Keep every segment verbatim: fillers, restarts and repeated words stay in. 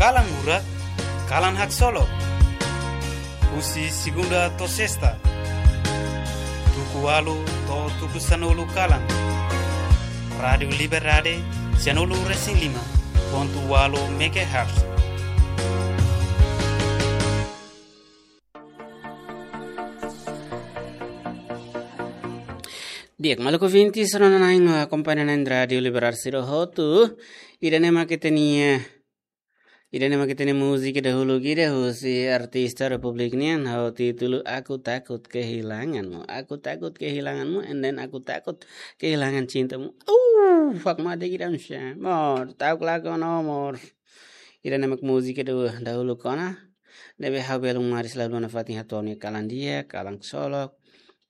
Kalan Murak, kalan haksolok. Husi segunda to'o sesta, tuku ualu to'o tuku sanulu kalan. Rádiu Liberdade, sianulu resin lima pontu ualu megahertz. Di'ak, maluk ouvintes, sira-ne'e akompaña ona Rádiu Liberdade sira hotu. Ida-ne'e mak ita-nia, ida-ne'e mak ita-nia múzika dahuluk ida husi artista Republik nian, ho títulu Aku Takut Kehilanganmu. Aku takut kehilanganmu, and then aku takut kehilangan cintamu. Uh, fuck mate kidan sha. Mor, ta'uk lakon no mor. Ida-ne'e mak múzika da, dahuluk ona. Ne'ebé ha'u belun maris la haluha nafatin hato'o nia kalan di'ak, kalan haksolok.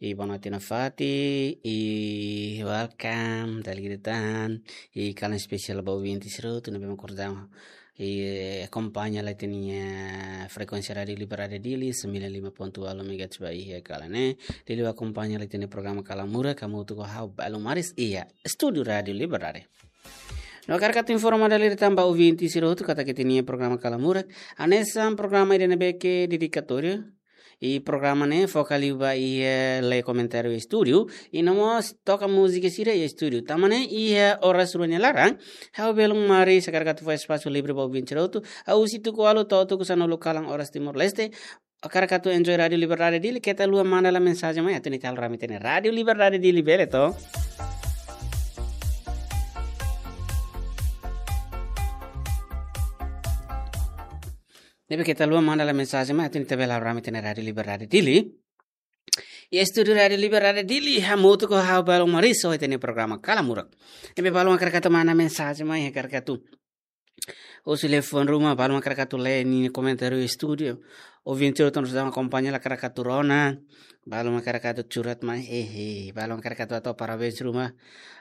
I boa noite nafatin, i welcome, dala ida tan, i kalan espesiál ba ouvintes sira hotu ne'ebé mak kordang, i akompaña lai ita-nia frekuénsia Rádiu Liberdade Dili, sembilan lima pontu ualu megahertz ba iha kalan ne'e. Dili akompaña lai ita-nia programa Kalan Murak, hamutuk ho ha'u belun maris, iha estúdiu Rádiu Liberdade. No hakarak atu informa dala ida tan ba ouvintes sira hotu katak ita-nia programa Kalan Murak hanesan programa ida ne'ebé ke dedikatóriu. I programa ne'e foka liu ba iha lee komentáriu estúdiu. I no mós toka múzika sira iha estúdiu. Tanba ne'e iha oras rua nia laran, ha'u belun maris hakarak atu fó espasu livre ba ouvintes sira hotu. Husi tuku ualu to'o tuku sanulu kalan oras Timor-Leste. Hakarak atu enjoy Rádiu Liberdade Dili, keta haluha manda lai mensajen mai atu ita halo rame ita-nia Rádiu Liberdade Dili, bele to? Ne'ebé keta haluha manda lai mensajen mai atu ita bele halo rame ita-nia Rádiu Liberdade Dili. Iha estúdiu Rádiu Liberdade Dili, hamutuk ho ha'u belun maris ho ita-nia programa Kalan Murak. Ne'ebé balun hakarak atu manda mensajen mai, hakarak atu husi liafuan ruma, balun hakarak atu lee nia komentáriu estúdiu. Ouvinte sira hotu ne'ebé akompaña, hakarak atu rona, balun hakarak atu curhat mai, hehe, balun hakarak atu hato'o parabéns ruma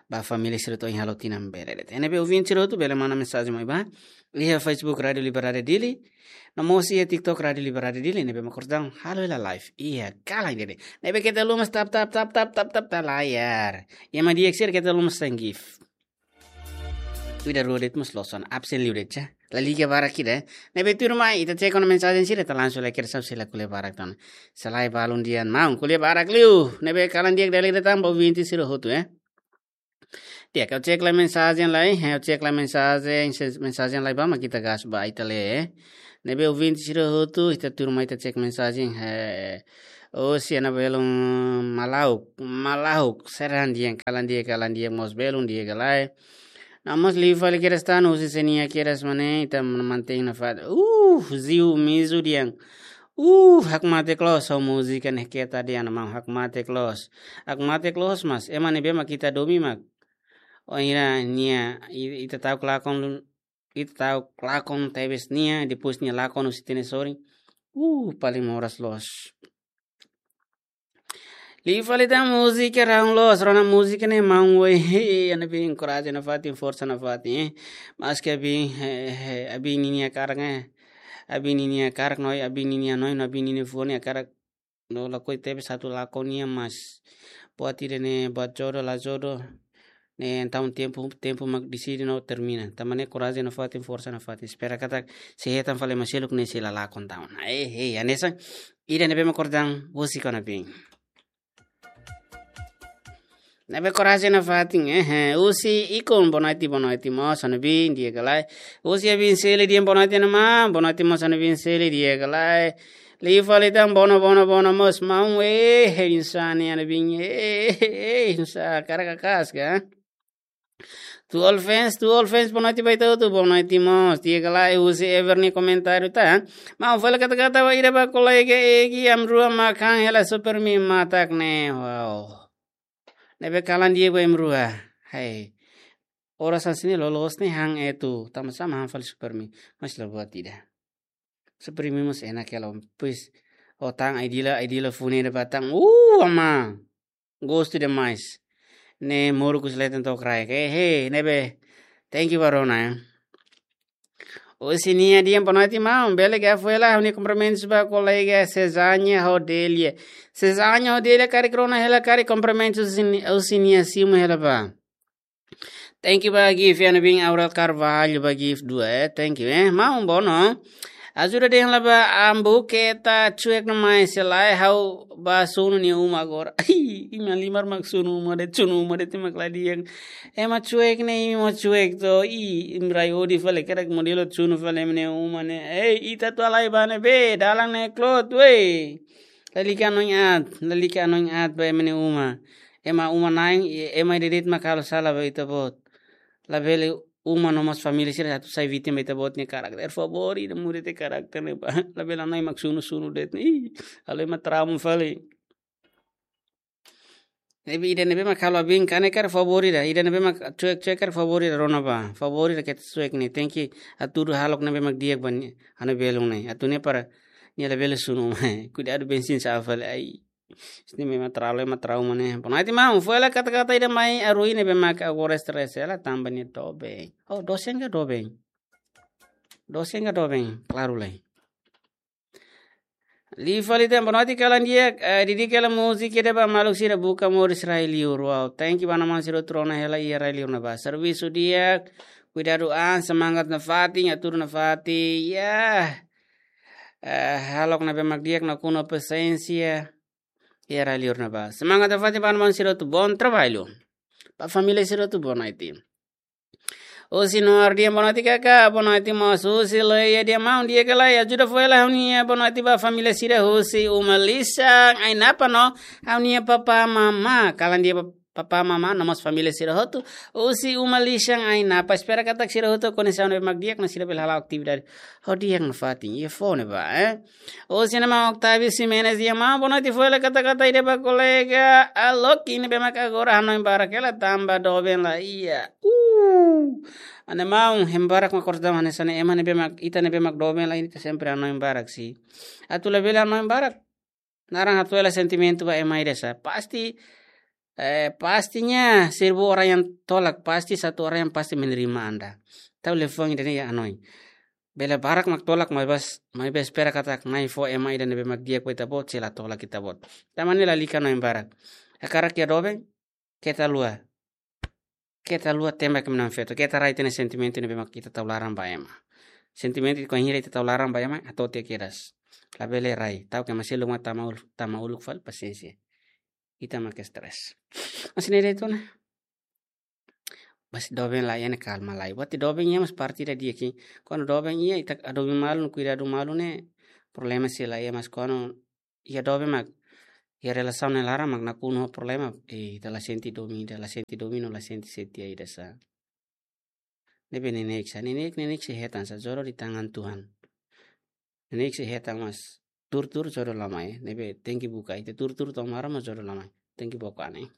ba família sira hotu ohin halo tinan, bele de'it. Ne'ebé ouvinte sira hotu bele manda mensajen mai ba iha Facebook Rádiu Liberdade Dili, no mós iha TikTok Rádiu Liberdade Dili, ne'ebé mak kordang halo hela live iha kalan ida-ne'e. Ne'ebé keta haluha mós tap, tap, tap, tap, tap, tap, tap layar. Iha ema di'ak sira keta haluha mós send gift. Ida rua de'it mós loos ona, absen liu de'it, ya. La liga barak ida, eh. Ne'ebé tuirmai, ita cek ona mensajen sira, ita langsung lai kira sab sila ko'alia barak tan. Selae balun dehan maun, ko'alia barak liu. Ne'ebé kalan di'ak dala ida tan ba ouvinte sira hotu, eh. Di'ak, ha'u cek lai mensajen lai, eh, ha'u cek lai mensajen, se-, mensajen lai ba mak ita gas ba ita lee, eh. Ne'ebé ouvinte sira hotu, ita tuirmai ita cek mensajen, eh. Husi Ana Belun Malauk, Malauk, Serhan dehan kalan di'ak, kalan di'ak mós belun di'ak ka lae. No mós liu fali kedas tan, husi Senia kedas mane, ita mantein nafatin. Uh, Ziu Mizu dehan. Uh, hakmatek loos ho múzika ne'e keta dehan maun, hakmatek loos. Hakmatek loos mas, ema ne'ebé mak ita domin mak. Ohin nia, i-, ita ta'uk lakon lu-, ita ta'uk lakon tebes nia, depois nia lakon husi ita-nia sorin. Uh, paling moras loos. Liu fali tan múzika rahun loos, rona múzika ne'e maun we, he, Ana Bin korajen nafatin, forsa nafatin, eh. Maske Abin, he, he, Abin ninia hakarak, eh. Abin ninia hakarak no, Abin ninia hanoin, Abin ninia fuan hakarak. No lakohi tebes atu lakon nia mas. Buat ida-ne'e buat jodoh la jodoh. Ne'e entaun tempu, tempu mak deside no termina. Tanba ne'e korajen nafatin, forsa nafatin. Espera katak sei hetan fali ema seluk ne'e sei la lakon tan. Eh, eh, hanesan ida ne'ebé mak kordang husi Ana Bin. Ne'ebé korajen nafatin, eh, eh. Husi Ikon, boa noite, boa noite mós, Ana Bin, di'ak ka lae. Husi Abin Seli dehan boa noite, Ana Bin, boa noite mós, Ana Bin Seli, di'ak ka lae. Liu fali tan, boa noite, boa noite, boa noite mós, maun, eh, eh, insani, Ana Bin, eh, eh, eh, insa, hakarak kaska. To all fans, to all fans, boa noite ba ita hotu, boa noite mós. Di'ak ka lae, husi Ever nia komentáriu tan. Maun, fali kata-kata ba ida ba kolega Egi, ami rua mak han hela Supermi matak ne'e. Wow. Ne'ebé kalan di'ak ba imi rua. Hai. Oras hanesan ne'e loloos ne'e han etu. Tanba sá mak han fali Supermi. Mas la buat ida. Supermi mós enak hela. Pois, ho tan ai-dila, ai-dila funu ida ba tan. Uh, ama. Gostu demais. Ne'e moruk husi leten to'o kraik. Eh, he, ne'ebé. Thank you ba rona, eh. Husi Nia dehan boa noite, maun. Bele ka foin hela, ha'u-nia kumprimentus ba kolega Sezanya ho Delia. Sezanya ho Delia karik rona hela, karik kumprimentus husi Ni-, husi Nia simu hela ba. Thank you ba gift, ya, ne'ebé Aurel Carvalho ba gift dua, eh. Thank you, eh. Maun Bono. Ajuda dehan la ba ambu keta cuek no mai selai ha'u ba sunu nia uma agora. Ih, imi halimar mak sunu uma de'it, sunu uma de'it mak la di'ak. Ema cuek ne'e, imi mak cuek to. Ih, imi rai odi fali, karik modelu sunu fali ema nia uma ne'e. Ei, ita atu halai ba ne'ebé, dalan ne'e klot, wei. Lalika hanoin aat, lalika hanoin aat ba ema nia uma. Ema uma-na'in, ema ida de'it mak halo sala ba ita-boot. Labele uma no mós família sira atu sai vítima ba ita-boot nia karakter. Favór ida muda ita karakter ne'e ba. Labele hanoin mak sunu-sunu de'it. Ih, halo ema trauma fali. Ne'ebé ida ne'ebé mak halo abin kanek karik favór ida. Ida ne'ebé mak cuek-cuek karik favór ida rona ba. Favór ida keta cuek ne'e. Tenke hatudu hahalok ne'ebé mak di'ak ba nia. Hanoin belun ne'e. Atu ne'e para nia labele sunu. Kuidadu bensin sa'e fali. Ai. Sini memang terlalu, memang trauma ne'e. Bonoite maun, foin hela kata-kata ida mai arui ne'ebé mak agora stress hela tanba nia doben. Oh, dosen ka doben? Dosen ka doben? Klaru lai. Liu fali tan, bonoite kalan di'ak, eh, di'ak hela múzika ida ba maluk sira buka moris rai liur. Wow, thank you ba maun sira hotu rona hela iha rai liur ne'ebá. Servisu di'ak, kuidadu an, semangat nafatin, hatudu nafatin. Ya. Eh, hahalok ne'ebé mak di'ak nakonu pasiénsia. Iha rai liur ne'ebá. Semangat nafatin ba maun sira hotu, bom trabalho. Ba família sira hotu bonoite. Husi Noar dehan bonoite kaka, bonoite mós husi Leia dehan maun di'ak ka lae, ajuda foin hela ha'u-nia bonoite ba família sira husi uma lisan Ainapa no ha'u-nia papá mamá. Kalan di'ak ba papá mamá no mós família sira hotu husi uma lisan Ainapa. Espera katak sira hotu koneksaun ne'ebé mak di'ak no sira bele hala'o atividade ho di'ak nafatin iha foho ne'ebá, eh. Husi ema Octavio Ximenes dehan maun, bonoite foin hela kata-kata ida ba kolega Aloki ne'ebé mak agora hanoin barak hela tanba doben la iha. Uh. Ane maun, ema barak mak kors dam hanesan ne'e, ema ne'ebé mak, ita ne'ebé mak doben la iha ita sempre hanoin barak sih. Atu labele hanoin barak. Naran hato'o hela sentimentu ba ema ida sá. Pasti, eh, pastinya seribu orang yang tolak, pasti satu orang yang pasti menerima Anda. Tau liafuan ida-ne'e iha hanoin. Bele barak mak tolak, maibé, maibé espera katak Na'i fó ema ida ne'ebé mak di'ak ba ita-boot, sei la tolak ita-boot. Tanba ne'e lalika hanoin barak. Hakarak iha doben, keta haluha. Keta haluha tembak ema na'in-feto. Keta rai tiha ona sentimentu ne'ebé mak ita tau laran ba ema. Sentimentu bainhira ita tau laran ba ema, hato'o tiha kedas. Labele rai. Ta'uk ema seluk mak tama ul-, tama uluk fali, pasiénsia. Ita mak stress. Mas ne'e de'it ona. Mas doben la iha ne'e kalma lai. Buat doben iha mós parte ida di'ak. Kuandu doben iha, ita hadomi malu, kuidadu malu ne'e problema sei la iha, mas kuandu iha doben mak iha relasaun nia laran mak nakonu ho problema, eh, ita la sente domin ida, la sente domin no la sente setia ida sá. Ne'ebé neineik sá, neineik, neineik sei hetan sá, jodoh di tangan Tuhan. Neineik sei hetan, mas tuur-tuur jodoh la mai, ne'ebé tenke buka, ita tuur-tuur to'o maran mas jodoh la mai, tenke buka ne'e.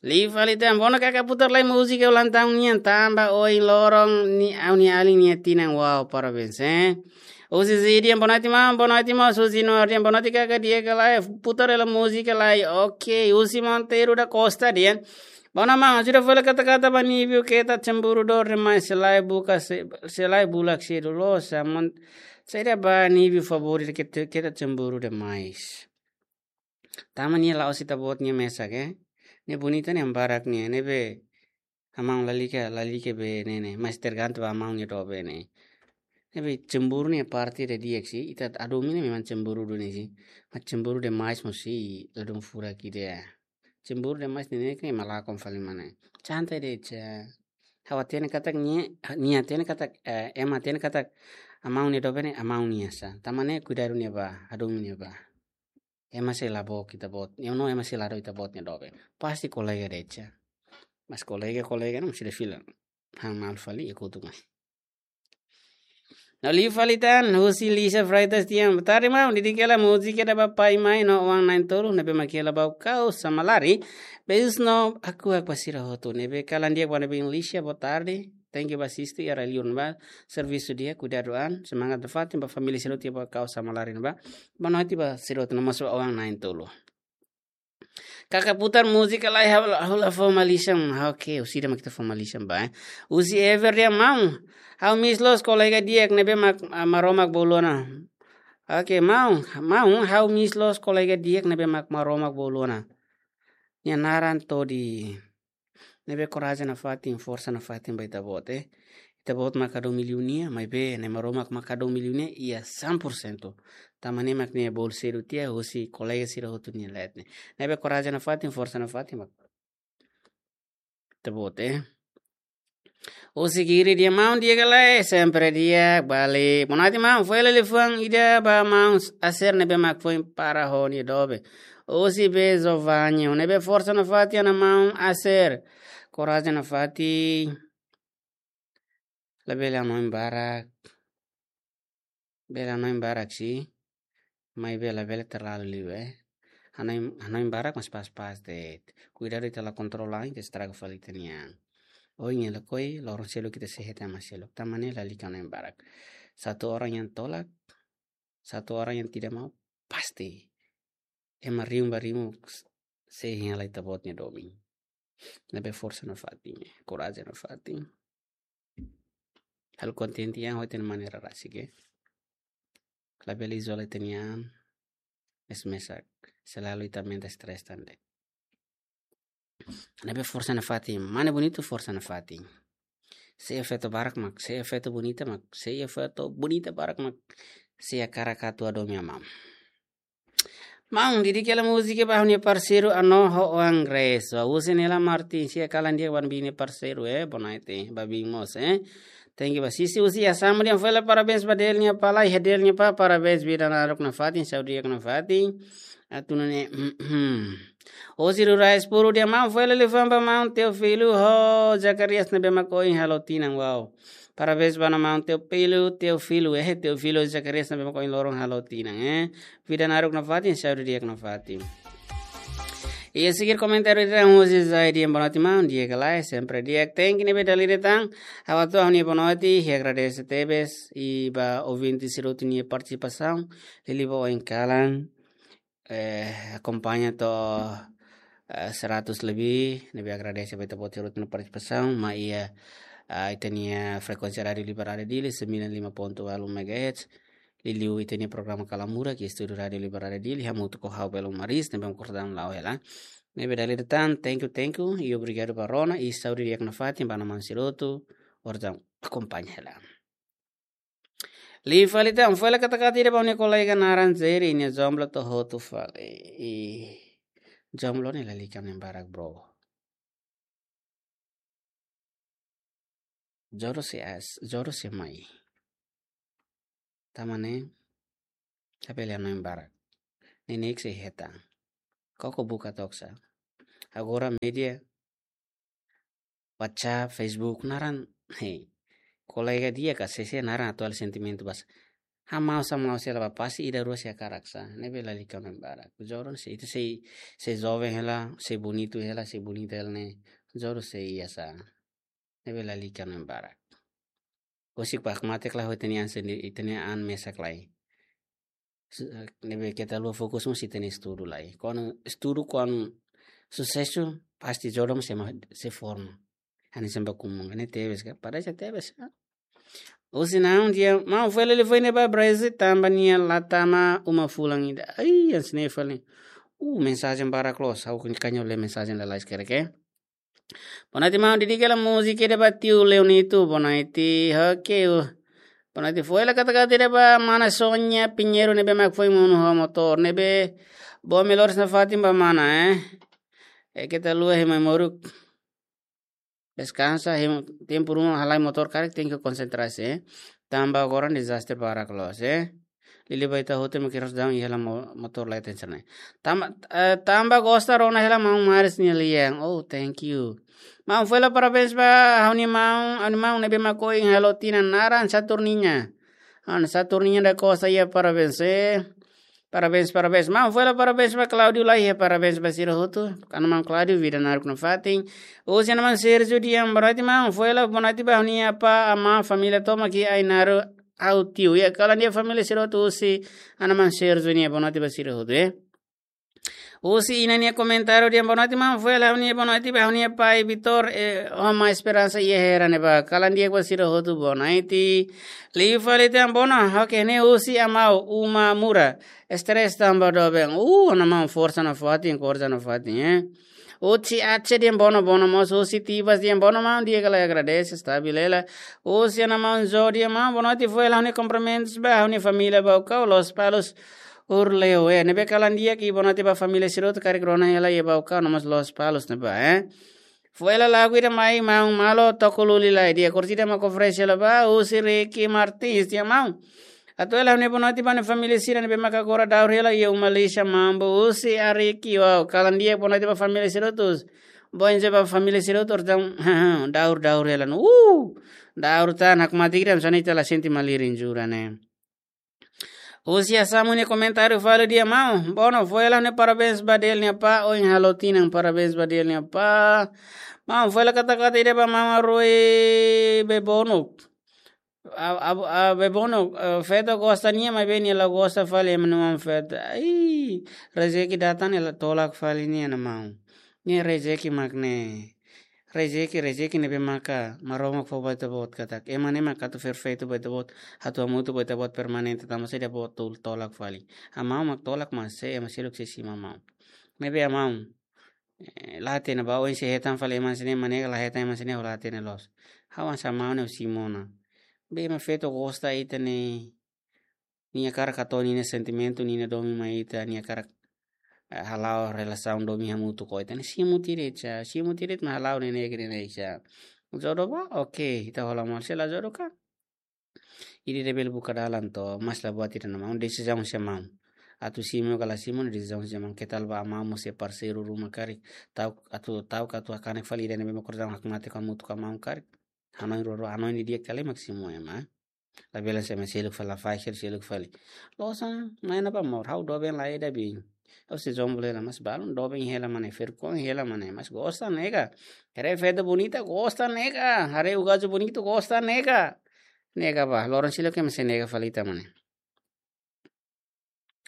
Liu fali tan, Bono kaka putar lai múzika ulang tahun nian tanba ohin loron ne'e ha'u-nia alin nia tinan. Wow, parabéns, eh. Husi Zi dehan bonoite maun, bonoite maun, husi Noar dehan bonoite kaka di'ak ka lae, putar hela múzika lai. Oke, husi Monteiro da Costa dehan. Bono maun, ajuda foin hela kata-kata ba Nívio, keta cemburu dor demais, sei la buka se-, sei la bulak sedu loos, mon-, saida ba Nívio favór ida keta, keta cemburu demais. Tanba nia la'ós ita-boot nia mesak, eh. Nia bonita nia barak nia, ne'ebé amaun lalika, lalika be ne'e ne'e, mas tergantung ba amaun nia doben ne'e. Ne'ebé cemburu ne'e parte ida di'ak sih, ita hadomi ne'e memang cemburu duni sih. Mas cemburu demais mós sei ladún furak ida. Cemburu demais ne'e ne'e ke malakon fali mana. Santai de'it sá. Ha'u hatene katak nia, nia hatene katak, eh, ema hatene katak amaun nia doben ne'e amaun nia sá. Tanba ne'e kuidadu nia ba, hadomi nia ba. Ema sei la book ita-boot. Ema no, ema sei la dook ita-boot nia doben. Pasti kolega de'it sá. Mas kolega, kolega ne'e mós ida fila. Han malu fali iha kotuk mai. No liu fali tan, husi Lisa Freitas dehan, boa tarde maun, di'ak hela múzika ida ba pai mãe no oan na'in-tolu, ne'ebé mak hela ba Kau Samalari, beijos no hakuak ba sira hotu, ne'ebé kalan di'ak ba ne'ebé Lisa, boa tarde, thank you ba asiste, iha rai liur ne'ebá, servisu di'ak, kuidadu an, semangat nafatin ba família sira hotu iha ba Kau Samalari ne'ebá, bonoite ba sira hotu no mós ba oan na'in-tolu. Kaka putar múzika lai ha'u la, ha'u la fó malisan. Ah, oke, husi ida mak ita fó malisan ba, eh. Husi Ever dehan maun. Ha'u miss loos kolega di'ak ne'ebé mak, ah, Maromak bolu ona. Oke, maun, maun, ha'u miss loos kolega di'ak ne'ebé mak Maromak bolu ona. Nia naran Todi. Ne'ebé korajen nafatin, forsa nafatin ba ita-boot, eh. Ita-boot maka hadomi liu nia, maibé Na'i Maromak maka hadomi liu nia iha cem por cento. Tanba ne'e mak nia bolu sedu tiha husi kolega sira hotu nia leet ne'e. Ne'ebé korajen nafatin, forsa nafatin ba ita-boot, eh. Husi Giri, di'ak maun, di'ak ka lae, sempre di'ak, balik. Bonoite maun, foin hela liafuan ida ba maun Aser ne'ebé mak foin para ho nia doben. Husi Be Zovanho, ne'ebé forsa nafatin ona maun Aser. Korajen nafatin. Labele hanoin barak. Bele hanoin barak sih. Maibé labele terlalu liu, eh. Hanoin, hanoin barak mas pas-pas de'it. Kuidadu ita la kontrola, ita estraga fali ita-nia an. Ohin hela koi, loron seluk ita sei hetan mai seluk. Tanba ne'e lalika hanoin barak. Satu orang yang tolak, satu orang yang tidak mau, pasti ema rihun ba rihun sei hein hela ita-boot nia domin. Ne'ebé forsa nafatin, korajen nafatin. Halo kontente iha ho ita-nia maneira rasik, eh. Labele izola ita-nia an, es mesak, selalu ita aumenta stress tan de'it. Ne'ebé forsa nafatin, mane bonitu, forsa nafatin. Sei iha feto barak mak, sei iha feto bonita mak, sei iha feto bonita barak mak, sei hakarak atu hadomi amam. Maun, didik hela múzika ba ha'u-nia parseiru Anoho Angres. Ba husi Nela Martins, sei hakarak di'ak ba ha'u-nia parseiru, eh, bonoite, ba biin mós, eh. Thank you ba sisi husi Assam, di'ak, foin hela parabéns ba Del nia apá, lai Del nia apá, parabéns, vida naruk nafatin, saúde di'ak nafatin. Atu nune'e, husi Rurais Puru, di'ak maun, foin hela liafuan ba maun Teofilo ho Zacarias ne'ebé mak ohin halo tinan, wow. Parabéns ba maun Teofilo, Teofilo, eh, Teofilo Zacarias ne'ebé mak ohin loron halo tinan, eh. Vida naruk nafatin, saúde di'ak nafatin. Iha seguir komentáriu ida husi Zaidi, bonoite maun, di'ak ka lae, sempre di'ak. Thank you ne'ebé dala ida tan. Ha'u hato'o ha'u-nia bonoite, i agradese tebes, i ba ouvinte sira hotu nia partisipasaun, liuliu ba oin kalan, eh, akompaña to'o, eh, seratus lebih, ne'ebé agradese ba ita-boot sira hotu nia partisipasaun, mai iha, ah, ita-nia frekuénsia Rádiu Liberdade Dili, sembilan lima ponto walu megahertz, liuliu ita-nia programa Kalamurak, iha estúdiu Rádiu Liberdade Dili, hamutuk ho ha'u Belo Maris, ne'ebé mak kordam la'o hela. Ne'ebé dala ida tan, thank you, thank you, i obrigadu ba rona, i saúde di'ak nafatin ba maun sira hotu, orsida akompaña hela. Liu fali tan, foin hela katak-katak ida ba ha'u-nia kolega naran Jerry, nia jomblo to'o hotu fali. I jomblo ne'e lalika hanoin barak, bro. Jodoh sei as, jodoh sei mai. Tanba ne'e, labele hanoin barak. Neineik sei hetan. Koko buka took sa. Agora média, WhatsApp, Facebook, naran, hei. Kolega di'ak ka sé-sé naran atu halo sentimentu basa. Hamau sa mau sela ba pasti ida rua sei hakarak sa. Ne'ebé lalika hanoin barak. Jodoh sei, ita sei, sei joven hela, sei bonitu hela, sei bonita hela ne'e. Jodoh sei iha sa. Ne'ebé lalika hanoin barak. Husik pak mate kala ho ita-nia an sendiri, ita-nia an mesak lai. Su-, ne'ebé keta haluha fokus mós ita-nia estudu lai. Kuandu estudu, kuandu susesu, pasti jodoh mós sei ma-, sei forma. Hanesan ba kumun, ne'e tebes ka? Padahal sei tebes, ah. Husi Naun, di'ak maun, foin hela liafuan ida ba Brazil tanba nia la tama uma fulan ida. Ai, hanesan ne'e fali. Uh, mensajen barak loos, ha'u kan-, kanyo lee mensajen lalais kere ke. Bonoite maun, didik hela múzika ida ba tiu Leonito, bonoite, oke, uh. Bonoite, foin hela katak-katak ida ba mana Sonia Pinheiro ne'ebé mak foin monu ho motór, ne'ebé boa melhoras nafatin ba mana, eh. Eh, keta haluha ema moruk. Deskansa, ema, tempu ruma halai motór karik tenke konsentrasi, eh. Tanba agora dezastre barak loos, eh. Liuliu ba ita hotu mak harus daun iha hela mo-, motór lai tension, eh. Tanba, eh, tanba gosta rona hela maun Maris nia lian. Oh, thank you. Maun, foin hela parabéns ba ha'u-nia maun, ha'u-nia maun ne'ebé mak ohin halo tinan, naran Saturninha. Ha'u-nia Saturninha da Costa, iha parabéns, eh. Parabéns, parabéns. Maun, foin hela parabéns ba Claudio lai, iha parabéns ba sira hotu. Ha'u-nia maun Claudio, vida naruk nafatin. Husi ha'u-nia maun Sergio, di'ak, bonoite maun, foin hela bonoite ba ha'u-nia apá, amá, família tomak iha Ainaro, ha'u tiu. Iha kalan di'ak família sira hotu husi ha'u-nia maun Sergio nian, bonoite ba sira hotu, eh. Husi inan nia komentáriu, di'ak, bonoite maun, foin hela ha'u-nia bonoite ba ha'u-nia pai Vitor, eh, ho amá Esperansa iha Hera ne'ebá. Kalan di'ak ba sira hotu, bonoite. Liu fali tan, bonoite, oke, ne'e husi amá Uma Mura. Stress tanba doben. Uh, ha'u-nia maun, forsa nafatin, forsa nafatin, eh. Husi Aceh dehan bono, bono mós husi Tibas dehan bono maun, di'ak ka lae, agradese, stabil hela. Husi Ana Maun Zo dehan maun, boa noite, fo'er ha'u-nia kumprimentus ba ha'u-nia família Baucau, Lospalos, Urleu, eh. Ne'ebé kalan di'ak, i boa noite ba família sira hotu, karik rona hela iha Baucau no mós Lospalos ne'ebá, eh. Fo'er hela lagu ida mai maun, Malo Toko Luli lai, di'ak, orsida mak oferese hela ba, husi Ricky Martins dehan maun, atu hela ha'u-nia boa noite ba ha'u-nia família sira ne'ebé maka agora daur hela iha uma lixa Mambo, husi Ariki, wow, kalan di'ak, boa noite ba família sira hotu. Bom dia ba família sira hotu, orsida daur, daur hela no. Uh! Daur tan, hakmatek ida, hanesan ita la sente malirin jura ne'e. Husi Asamu nia komentáriu fali dehan maun, bono, fo'er hela ha'u-nia parabéns ba Del nia apá, ohin halo tinan, parabéns ba Del nia apá. Maun, fo'er hela katak-katak ida ba maun Arui Bebonuk. A, a, a, Bebonuk, eh, feto gosta nia, maibé nia la gosta fali ema nia oan feto. Ai, rezeki datan ne'e la tolak fali nia, Ana Maun. Ne'e rezeki mak ne'e. Rezeki, rezeki ne'ebé maka Maromak fó ba ita-boot katak. Ema ne'e maka atu perfeitu ba ita-boot, atu hamutuk ba ita-boot permanente, tanba saida ita-boot atu tolak fali. Ha'u mak tolak, mas se ema seluk sei simu ha'u. Ne'ebé ha'u, eh, la hatene ba oin sei hetan fali ema sira-ne'e, ema ne'e la hetan ema sira-ne'e, la hatene loos. Ha'u hanesan maun ne'e simu ona. Be ema feto gosta ita-nia, nia hakarak hato'o nia sentimentu, nia domin mai ita, nia hakarak, eh, hala'o relasaun domin hamutuk ho ita. Ne'e simu tiha de'it, simu tiha de'it, mak hala'o ne'e, ne'e, ne'e, ne'e. Jodoh ba, oke, ita hola malu, se la jodoh ka. Ida-idak bele buka dalan to'o, mas la buat ida, Ana Maun, desizaun husi maun. Atu simu ka la simu, desizaun husi maun. Ke tal ba maun mós iha parseiru ruma karik, ta'uk atu, ta'uk atu hakanek fali ida ne'ebé mak orsida hakmatek hamutuk ho maun karik. Hanoin roro, hanoin didi'ak, kali mak simu ema. Labele hanesan ema seluk fali, la fahe seluk fali. Loos, mai na ba mor, ha'u doben lai ida bin. Ha'u sei jomblo hela, mas balun doben hela mane, vergonha hela mane, mas gosta nega. Haree feto bonita, gosta nega. Haree ugaju bonitu, gosta nega. Nega ba, loron sira ke mase nega fali ita mane.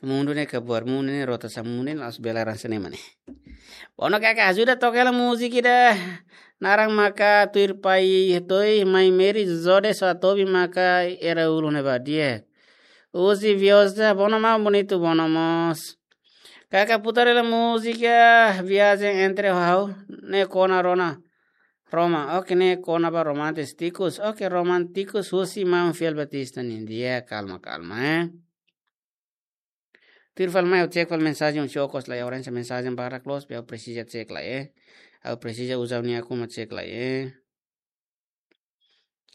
Mundu ne'e kabuar, mundu ne'e rotasaun, mundu ne'e la'ós bele hanesan ne'e mane. Bono, kaka, ajuda toka hela múzika ida. Naran maka Tuir Pai Toi, Mai Meri, Zode, Soatobi maka era ulu ne'ebá di'ak. Husi Viosa, bono maun, bonitu, bono mós. Kaka, putar hela múzika Viagem entre Hau, ne'e kona rona Roma. Oke, ne'e kona-ba romántikus. Oke, romántikus husi maun Fiel Batista nian. Di'ak, kalma, kalma, eh. Tuir fali mai, ha'u cek fali mensajen, ha'u okos lai, ha'u hanesan mensajen barak loos, be ha'u presiza cek lai, eh. Ha'u presiza uza ha'u-nia akun mak cek lai, eh.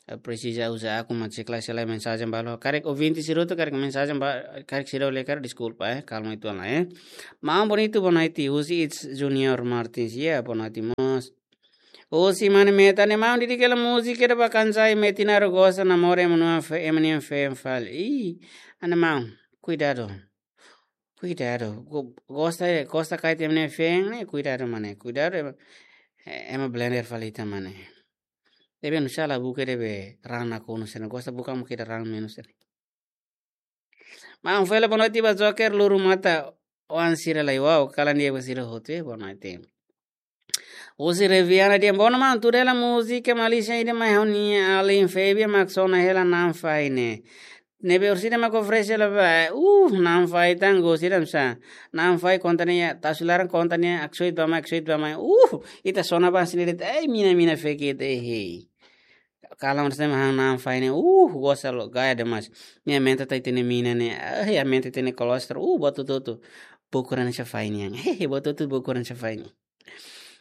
Ha'u presiza uza akun mak cek lai, se lae mensajen balu. Karik ouvinte sira hotu, karik mensajen ba, karik sira lee karik, deskulpa, eh. Kalma uitoan lai, eh. Maun bonitu, boa noite, husi It's Junior Martins. Ya, boa noite mós. Husi Mane Meta, Ana Maun, dedika hela múzika ida ba Kansai, Metinaro gosta namora ema nia fe-, ema nia feen fali. Ih, Ana Maun, kuidadu. Kuidadu. Go-, gosta, gosta karik ema nia feen ne'e, kuidadu mane. Kuidadu ema, eh, ema blender fali ita mane. Debe nusá la buka debe rana konu sena. Gosta buka mukida rana menus sena. Maun, fo'er hela boa noite ba Joker Luru Mata, oan sira lai, wow, kalan di'ak ba sira hotu, eh, boa noite. Husi Reviana dehan, bono maun, tuda hela múzika Malaysia ida mai ha'u-nia alin Febia mak sona hela Naanfai ne'e. Ne'ebé orsida mak oferese hela ba, uh, Naanfai tan gosi dan sa. Naanfai konta nia, tau-sira laran konta nia, aksoit ba mai, aksoit ba mai. Uh, ita sona ba sini det, eh, mina, mina fekit, eh, hei. Kalan orsida mak han Naanfai ne'e, uh, gosta loos, gaya demais. Nia aumenta ita-nia mina ne'e, eh, aumenta ita-nia kolesterol, uh, buat hotu-hotu. Bokuran sa fai nian. Hehe, buat hotu-hotu bokuran sa fai nian.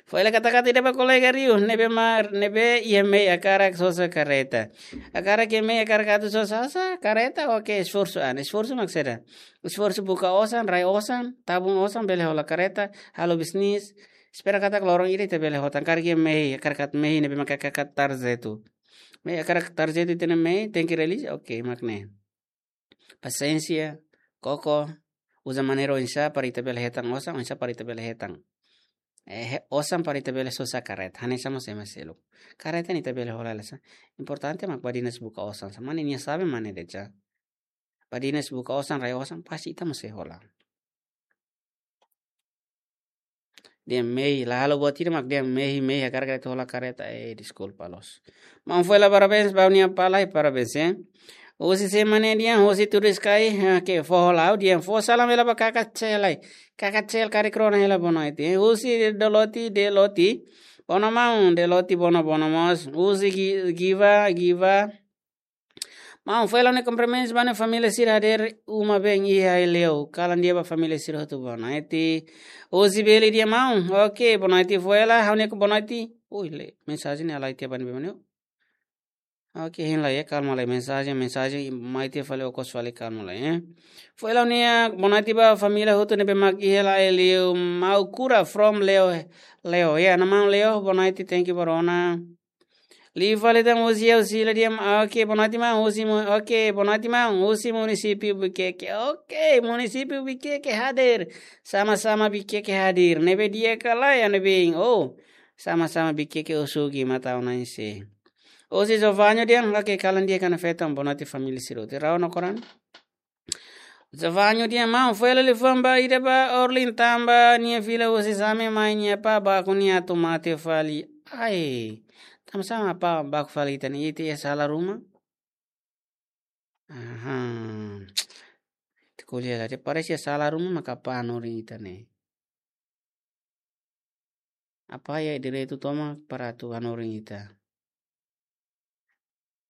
Fo'er hela katak-katak ida ba kolega Rio, ne'ebé mak, ne'ebé iha mehi hakarak sosa karreta. Hakarak iha mehi hakarak atu sosa, sosa karreta, oke, esforsu an, esforsu mak saida. Esforsu buka osan, rai osan, tabung osan, bele hola karreta, halo bisnis. Espera katak loron ida ita bele hotan, hakarak iha mehi, hakarak atu mehi, ne'ebé mak hakarak atu tarjetu. Mehi hakarak tarjetu ita-nia mehi, tenke realiza, oke, mak ne'e. Pasiénsia, koko, uza maneira oinsá para ita bele hetan osan, oinsá para ita bele hetan. Eh, he-, osan para ita bele sosa karreta, hanesan mós ema seluk. Karreta ne'e ita bele hola hela sa. Importante mak badinas buka osan, sa mane nia sabe mane de'it sa. Badinas buka osan, rai osan, pasti ita mós sei hola. Dehan mehi, la halo buat ida mak dehan mehi, mehi, hakarak atu hola karreta, eh, deskulpa loos. Maun, fo'er hela parabéns ba ha'u-nia apá lai, parabéns, eh. Husi semana di'ak, husi Turiskai, ah, ke foho lau di'ak, fó salam hela ba kaka Cel ai. Kaka Cel karik rona hela bonoite. Husi Deloti, Deloti. Bono maun, Deloti bono, bono mós. Husi Gi-, Giva, Giva. Maun, fó hela nia kumprimentus ba nia família sira hadeer uma bem iha Aileu. Kalan di'ak ba família sira hotu bonoite. Husi Beli di'ak maun. Oke, bonoite fó hela, ha'u-nia bonoite. Ui, le, mensajen ne'e halai tiha ba ne'ebé mak ne'e. Oke, hein lai, kalma lai, mensajen, mensajen mai tiha fali, okos fali, kalma lai, eh. Fó hela nia bonoite ba família hotu ne'ebé mak iha Aileu, Mau Kura from Leo, Leo, ya, na maun Leo, bonoite, thank you ba rona. Liu fali tan husi Ausílio di'ak, oke, bonoite maun, husi mu-, oke, bonoite maun, husi munisípiu Viqueque, oke, munisípiu Viqueque hadeer, sama-sama Viqueque hadeer, ne'ebé di'ak ka lae, ne'ebé, oh, sama-sama Viqueque osugi mata ona ise. Husi Jovanho di'ak, oke, kalan di'ak ona feto, bonoite família sira hotu. Rau no koran. Jovanho di'ak maun, fó hela liafuan ba ida ba Orlin tanba nia fila husi Same mai nia apá baku nia atu mate fali. Ai, tanba sá mak apá baku fali ita-nia, ita iha sala ruma? Aha. Ita ko'alia lai, parese iha sala ruma maka apá hanorin ita ne'e. Apá iha direitu tomak para atu hanorin ita.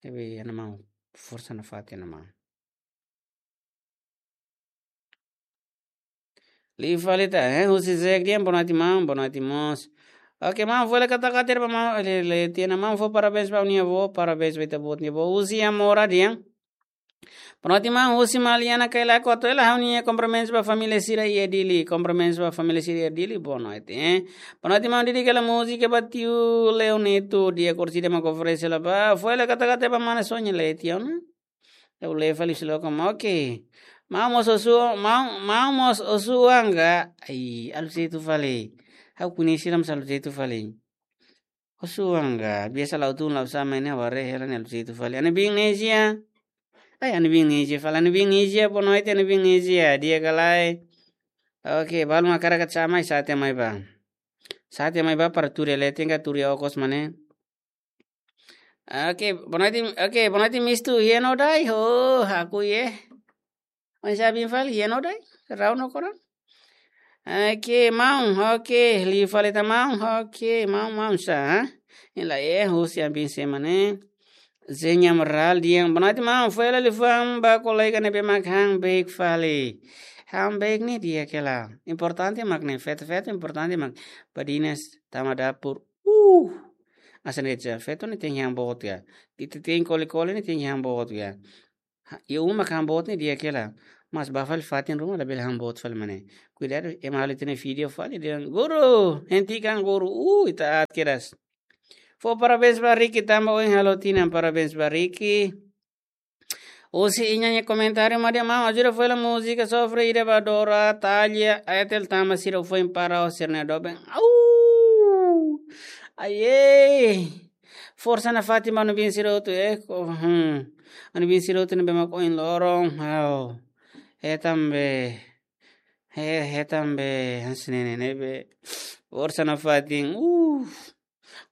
Ne'ebé, ana maun, forsa nafatin, ana maun. Liu fali tan, eh, husi Zek di'ak, bonoite maun, bonoite mós. Oke, maun, fó hela katak-katak ba maun, le, le, tiha ona maun, fó parabéns ba ha'u-nia avó, parabéns ba ita-boot nia avó. Husi Amora di'ak. Bonoite maun, husi Maliana Kailaku, atu hela ha'u-nia kumprimentus ba família sira iha Dili, kumprimentus ba família sira iha Dili, bonoite, eh. Bonoite maun, di'ak hela múzika ba tiu Leo Neto, di'ak, orsida mak oferese hela ba, fó hela katak-katak ba mana Sonia, le, tiha ona. Ha'u lee fali husi loron, oke. Maun mós osu-, maun, maun mós osu-uang ka? Ai, halo jeitu fali. Ha'u koñese la mós halo jeitu fali. Osu-uang ka? Biasa la'o tun la'o sa'e mai ne'e, wareh hela ne'e halo jeitu fali. Ana biin Nezia. Ai, ana biin Nezia fali. Ana biin Nezia, bonoite, ana biin Nezia. Di'ak ka lae? Oke, balu mak hakarak atu sa'e mai, sa'e tiha mai bá. Sa'e tiha mai bá para tuur iha leten ka tuur iha okos mak ne'e. Oke, bonoite, oke, bonoite mistu, iha no dai, ho, aku ye. Oinsá biin fali, iha no dai, rau no koran. Oke, maun, oke, liu fali tan maun, oke, maun, maun sá, hein? Ela é, husi ami biin sira mak ne'e. Zenya Amaral di'ak, bonoite maun, fó hela liafuan ba kolega ne'ebé mak han beik fali. Han beik ne'e di'ak hela. Importante mak ne'e, feto-feto importante mak. Badinas, tama dapur, uh. Hanesan de'it, feto ne'e tenke han boot ka. Ita tenke kole-kole ne'e tenke han boot ka. Ha, iha uma mak han boot ne'e di'ak hela. Mas bá fali fatin ruma labele han boot fali mak ne'e. Kuidadu, ema halo ita-nia vídeo fali dehan, guru, hentikan guru. Uh, ita aat kedas. Fó parabéns ba Ricky tanba ohin halo tinan, parabéns ba Ricky. Husi Iña nia komentáriu mak di'ak maun, ajuda fó hela múzika Sofre ida ba Dora Talha Airtel tanba sira foin para o sira-nia doben. Au! Aie! Forsa nafatin ba ami biin sira hotu, eh, ko, hmm. Ami biin sira hotu ne'ebé mak ohin loron, au. Hetan be, he, hetan be, hanesan ne'e ne'ebé. Forsa nafatin, uh.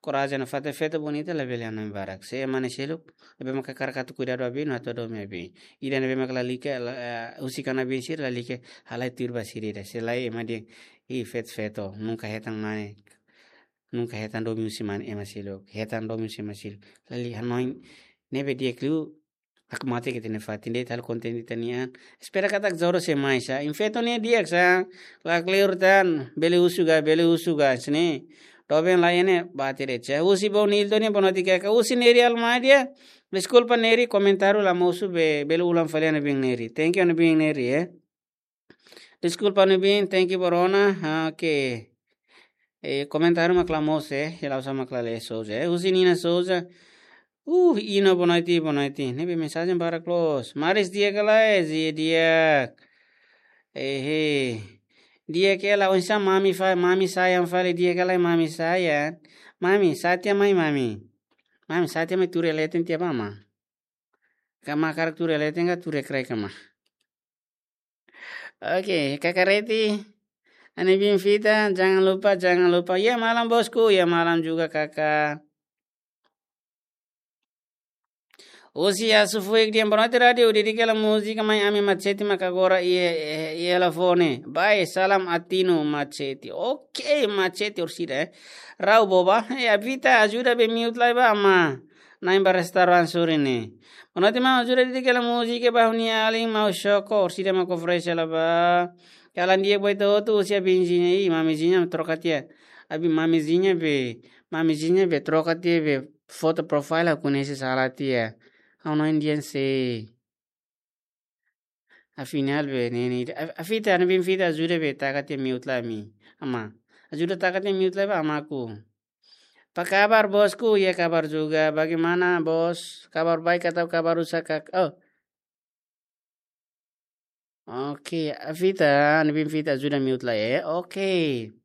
Korajen nafatin, feto bonita labele hanoin barak. Se ema ne'e seluk, ne'ebé mak hakarak atu kuidadu ba biin, atu hadomi ba biin. Ida ne'ebé mak lalika, la, eh, husik ona biin sira, lalika halai tuir ba sira ida. Se lae ema dehan, ih, feto-feto, nunka hetan mane, nunka hetan domin husi mane ema seluk. Hetan domin husi ema seluk. Lali hanoin, ne'ebé di'ak liu, aku mate ke tene fatin de'it halo konten ita-nian. Espera katak jodoh sei mai sá. Infeto ne'e di'ak sá. La kleur tan. Bele husu ka, bele husu ka. Sini. Doben la iha ne'e, bate de'it sá. Husi Bau Nilton ne'e, bonoite kaka. Husi Neri Almadia. Deskulpa Neri, komentáriu la mosu be, bele ulang fali, ana biin Neri. Thank you, ana biin Neri, eh. Deskulpa, ana biin, thank you ba rona. Ah, oke. Eh, komentáriu mak la mosu, eh, hela usa mak la lee Souza, eh. Husi Nina Souza. Uh, Ino, bonoite, bonoite. Ne'ebé mensajen barak loos. Maris di'ak ka lae, di'ak, di'ak. Eh, eh. Di'ak hela, oinsá mami fa-, mami sayang fali, di'ak ka lae mami sayang. Mami, sa'e tiha mai mami. Mami, sa'e tiha mai tuur iha leten tiha ba mak. Ka mak hakarak tuur iha leten ka tuur iha krek ka mak. Oke, Kaka Reti. Ana biin Vita, jangan lupa, jangan lupa. Ya malam, bosku, ya malam juga, Kakak. Husi Asu Fuik dehan boa noite rádiu, dedika hela múzika Mai Ami Machete mak agora iha, iha, iha hela fone. Bye, salam Atinu Machete. Ok, Machete orsida, eh. Rau boba, eh, Avita ajuda be mute lai ba ama. Na'in ba restaurante suri ne'e. Boa noite maun, ajuda dedika hela múzika ba ha'u-nia alin maun Shoko, orsida mak oferese hela ba. Kalan di'ak ba ita hotu, husi Abizinha, ih, Mamizinha troka tiha. Abi Mamizinha be, Mamizinha be troka tiha be foto profile aku nesi sala tiha. Ha'u no Indian se. Afinál be, ne'e ne'e, a, Avita, ne'ebé Avita ajuda be taka tiha mute lai ami. Ama. Ajuda taka tiha mute lai ba amaku. Apa kabar bosku? Ya kabar juga. Bagaimana bos? Kabar baik atau kabar rusak, Kak? Oh. Oke, Avita, ne'ebé Avita ajuda mute lai, eh. Oke.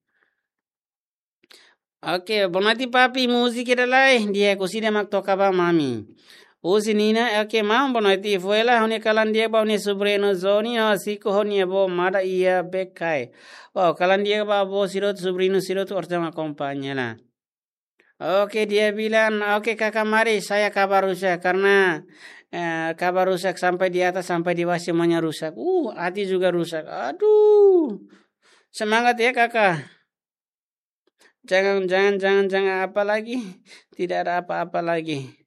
Oke, boa noite papi, múzika ida lai, di'ak orsida mak toka ba mami. Husi Nina, oke, maun, boa noite, fó hela ha'u-nia kalan di'ak ba ha'u-nia sobriñu Zoni, no siku ha'u-nia avó amada iha Bekai. Wow, kalan di'ak ba avó sira hotu, sobriñu sira hotu, orsida mak akompaña hela. Oke, dia bilang, oke, Kakak, mari, saya kabar rusak, karena, eh, kabar rusak sampai di atas, sampai di bawah semuanya rusak. Uh, hati juga rusak. Aduh. Semangat ya, Kakak. Jangan, jangan, jangan, jangan apa lagi. Tidak ada apa-apa lagi.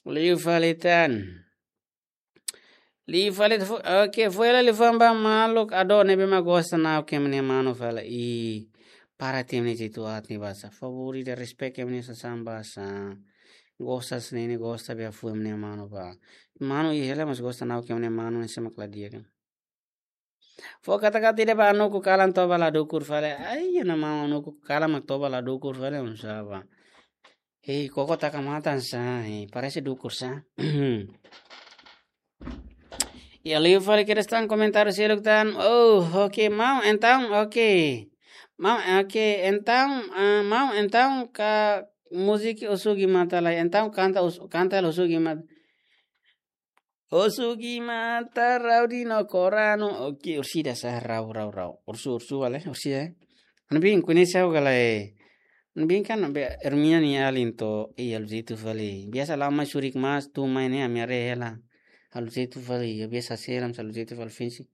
Liu fali tan. Liu fali fu-, oke, fó hela liafuan ba maluk Ado ne'ebé mak gosta Nau Kemne Manu fali. I, para tim ni jitu at ni basa. Favori de respect Kemne Sasán basa. Gosta sini ni gosta be fó Kemne Manu ba. Manu i hela mas gosta Nau Kemne Manu ni semak la di'ak kan. Fó kata-kata ida ba Anuku kalan toba la dukur fali. Ai, ana maun Anuku kalan mak toba la dukur fali, um saba. Hei, koko taka matan sa, hei, parese dukur sa. Ya, liu fali kedas tan komentáriu seluk tan. Oh, oke, maun, entaun, oke. Maun, oke, entaun, ah, maun, entaun ka múzika Oxu Gimata lai. Entaun kanta Oxu, kanta Oxu Gimata. Oxu Gimata rau dino koranu. Oke, orsida sa rau, rau, rau. Orsida, orsida, vale? Orsida, eh? Anu bin, koñese ha'u ka lae. Anu bin kan, be, Hermina nia alin to, eh, halo jeitu fali. Biasa lama surik mas, tu mai ne'e, ami haree hela. Halo jeitu fali, ya biasa selam, halo jeitu fali finsi.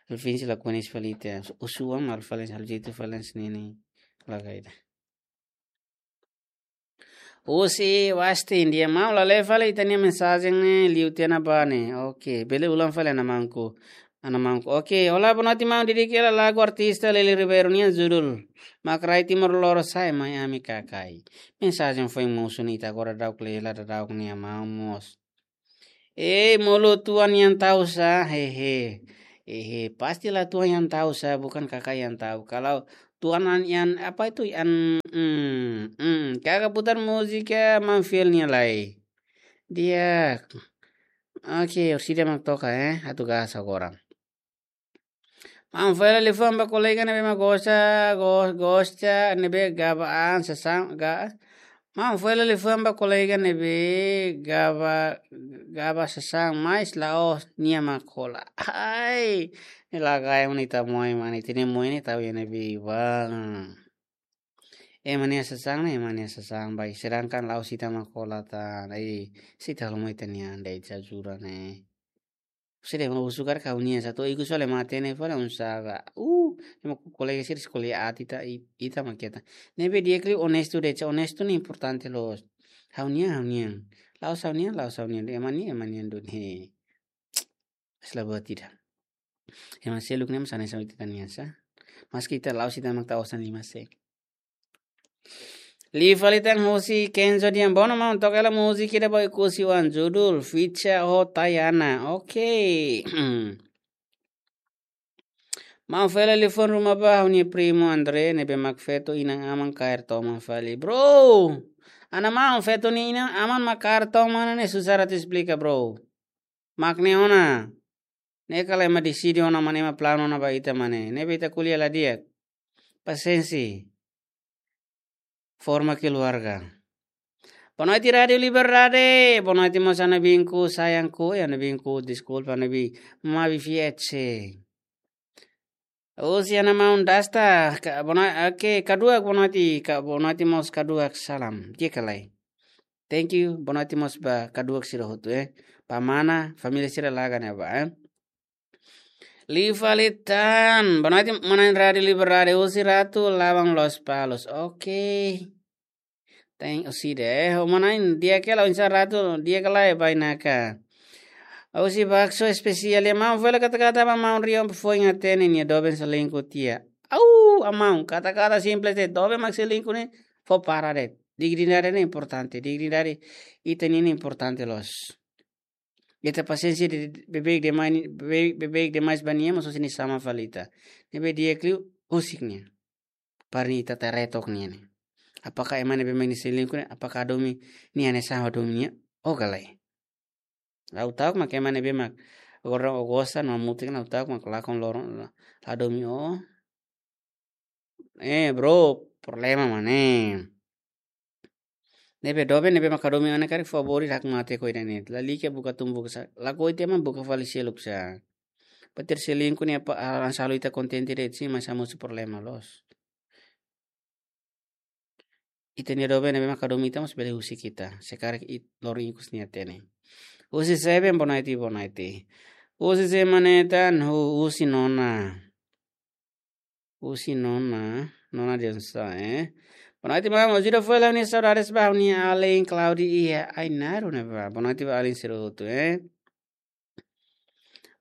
Halo finsi la koñese fali te. Oxu am, halo fali, halo jeitu fali, sini ni. La kaida. Husi Wasti, di'ak maun, la lee fali ita-nia mensajen ne'e, liu tiha ona ba ne'e. Oke, bele ulang fali ana maunku. Ana maunku. Oke, olá, boa noite maun, dedika hela lagu artista Lili Ribeiro nian judul Mak Rai Timor Lorosa'e Mai Ami Kakai. Mensajen foin mosu ne'e ita agora daudauk lee hela daudauk ne'e maun mós. Eh, molu tuan yang tahu sa, hehe. Hehe, pastilah tuan yang tahu sa, bukan kakak yang tahu. Kalau tuan an-, yang, apa itu, yang, mm, mm, kakak putar musik ya, maun feel nia lai. Dia, oke, orsida mak toka, eh, atu gas agora. Maun fó hela liafuan ba kolega ne'ebé mak gosta, go-, gosta, ne'ebé gaba an sasán, ga-, maun fó hela liafuan ba kolega ne'ebé gaba, gaba sasán, mais la'ós nia mak hola. Ai, ne'e la gai mani ita moe mani, ita-nia moe ne'e tau iha ne'ebé bang. Ema nia sasán ne'e, ema nia sasán bai, sedangkan la'ós ita mak hola tan, ai, se ita halo moe ita-nia andai jajura ne'e. Sede mau sukar kau nia satu iku sole mate ne fala un saga. Uh, ema ku kolega sira sekolah ati ta i-, ita mak keta. Ne'ebé di'ak liu onestu de'it, onestu ne'e importante loos. Ha'u-nian, ha'u-nian. La'ós ha'u-nian, la'ós ha'u-nian. Ema nia, ema nian duni. Asla buat tidak. Ema seluk ne'e mós hanesan ita-nia sa. Maski ita la'ós ita mak ta osan lima se. Liu fali tan husi Kenzo dehan bono maun toka hela múzika ida ba Oekusi oan judul Ficha ho Tayana. Oke. Maun fó hela liafuan ruma ba ha'u-nia primu André ne'ebé mak feto inan-aman kaer toman fali. Bro, ana maun feto nia inan-aman mak kaer toman ne'e susar atu esplika, bro. Mak ne'e ona. Ne'e kala ema deside ona mak ne'e ema planu ona ba ita mak ne'e. Ne'ebé ita ko'alia la di'ak. Pasiénsia. Forma keluarga. Boa noite, Rádio Liberdade. Boa noite, mós ana binku, sayangku, ya ana binku, deskulpa, ana bi, mabi fietse. Husi ana maun Dasta, ka, boa noi-, oke, Kaduak, boa noite, ka, boa noite, mós Kaduak, salam. Di'ak ka lae. Thank you, boa noite mós ba kaduak sira hotu, eh. Ba mana, família sira laga ne'ebá, eh. Liu fali tan, boa noite, mana Radi Liberdade, husi Ratu Labang Lospalos. Oke. Thank you, husi de, eh, mana, di'ak ka lae, husi Ratu, di'ak ka lae, bainaka. Husi bakso espesiál, ya, maun, fó hela kata-kata ba maun Rion, fó inga tene, nia doben selingkuh tiha. Au, maun, kata-kata simples de'it, doben mak selingkuh ne'e, fó para de'it. Dignidade ne'e importante, dignidade ita-nian ne'e importante loos. Ita pasiénsia de, beibeik demais, beibeik, beibeik demais ba nia, mas husi nia sama fali ita. Ne'ebé di'ak liu, husik nia. Para nia ita tau retok nia ne'e. Apakah ema ne'ebé mak nia selingkuh ne'e, apakah hadomi nia hanesan hadomi nia? Ou ka lae. Ha'u ta'uk mak ema ne'ebé mak agora o gosta no mutin, ha'u ta'uk mak lakon loron la, la hadomi o. Eh, bro, problema mak ne'e. Ne'ebé doben, ne'ebé mak hadomi ona karik favór ida hak mate ko ida ne'e. Lalika buka tun buka sá. Lakohi tiha mak buka fali seluk sá. Ba ter selingkuh ne'e apa, ah, hanesan halo ita kontente de'it sin, mas hamosu problema loos. Ita-nia doben ne'ebé mak hadomi ita mós bele husik ita. Se karik it-, loron ikus nia hatene. Husi Seven, boa noite, boa noite. Husi Seven ne'e tan, hu-, husi nona. Husi nona, nona de onça, eh. Boa noite, maun. Ajuda fó hela ha'u-nia saudades ba ha'u-nia alin Claudia iha Ainaro ne'ebá. Boa noite ba alin sira hotu, eh.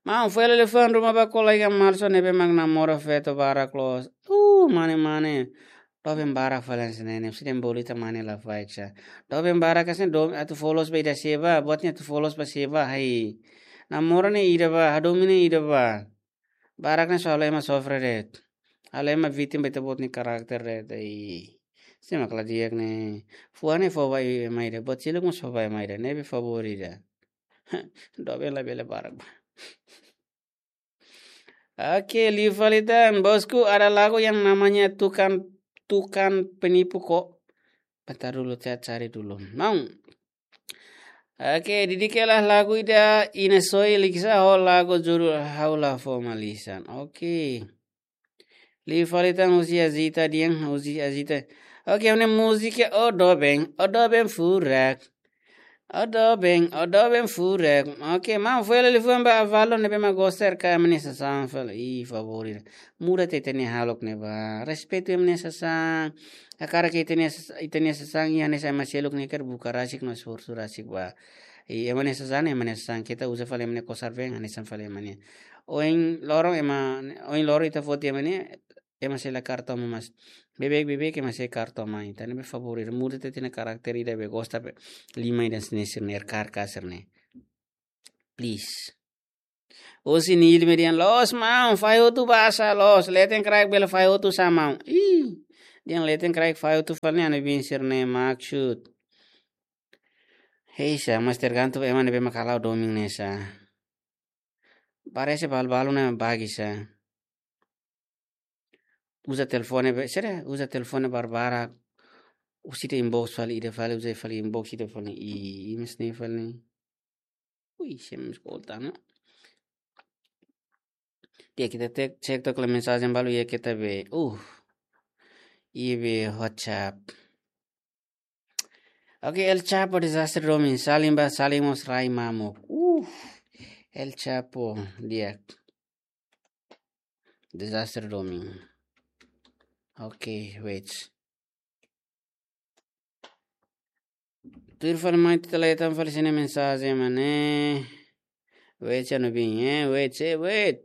Maun, fó hela liafuan ruma ba kolega Marlson ne'ebé mak namora feto barak loos. Uh, mane, mane. Doben barak fali hanesan ne'e, ne'e, siden bolu ita mane la faik sá. Doben barak hanesan ne'e, doben atu fó loos ba ida sé bá, buat ne'e atu fó loos ba sé bá, hai. Namora ne'e ida bá, hadomi ne'e ida bá. Barak ne'e só halo ema sofre de'it. Halo ema vítima ba ita-boot nia karakter de'it. Ai. Sé mak la di'ak ne'e. Fuan ne'e fó ba ema ida. Buat seluk mós fó ba ema ida. Ne'ebé favór ida. Doben labele barak bá. Oke, liu fali tan. Bosku, ada lagu yang namanya Tukang, Tukang Penipu kok. Bentar dulu, saya cari dulu. Maun. Oke, didik hela lagu ida Ina Soi Liksa ho lagu judul Ha'u La Fó Malisan. Oke. Liu fali tan husi Azita dehan, husi Azita. Oke, ha'u-nia múzika O Doben, O Doben Furak. O Doben, O Doben Furak. Oke, maun, fó hela liafuan ba avó ne'ebé mak gosta R K M nia sasán fali. Ih, favór ida. Muda tiha ita-nia hahalok ne'e bá. Respeitu ema nia sasán. Hakarak ita-nia sas-, ita-nia sasán iha hanesan ema seluk ne'e karik buka rasik no esforsu rasik bá. I ema nia sasán, ema nia sasán. Keta uza fali ema nia kosar-been hanesan fali ema nia. Ohin loron ema, ohin loron ita foti ema nia, ema sei la kaer toman, mas beibeik, beibeik ema sei kaer toman. Entaun ne'ebé favór ida, muda tiha ita-nia karakter ida be gosta be. Liman ida hanesan ne'e sira-ne'e, R K R K sira-ne'e. Please. Husi Nilma dehan loos maun, fahe hotu bá sá loos, leten kraik bele fahe hotu sá maun. Ih, dehan leten kraik fahe hotu fali ne'e, ha'u-nia biin sira-ne'e maksud. Hei sá, mas tergantung ema ne'ebé mak halo domin ne'e sá. Parese balu-balu ne'e bagi sá. Uza telefone be, sira uza telefone barbarak. Husi ida inbox fali, ida fali, uza fali inbox, ida fali, i, i, mas ne'e fali. Ui, sem eskolta, no? Di'ak, ita tek, cek took hela mensajen balu iha ita be. Uh. Iha be WhatsApp. Oke, El Chapo disaster domin. Salim ba, Salim mós rai mamuk. Uh. El Chapo, di'ak. Disaster domin. Oke, wait. Tuir fali mai ita leten fali sira-nia mensajen mak ne'e. Wait, sá no bin, eh? Wait, sá, wait.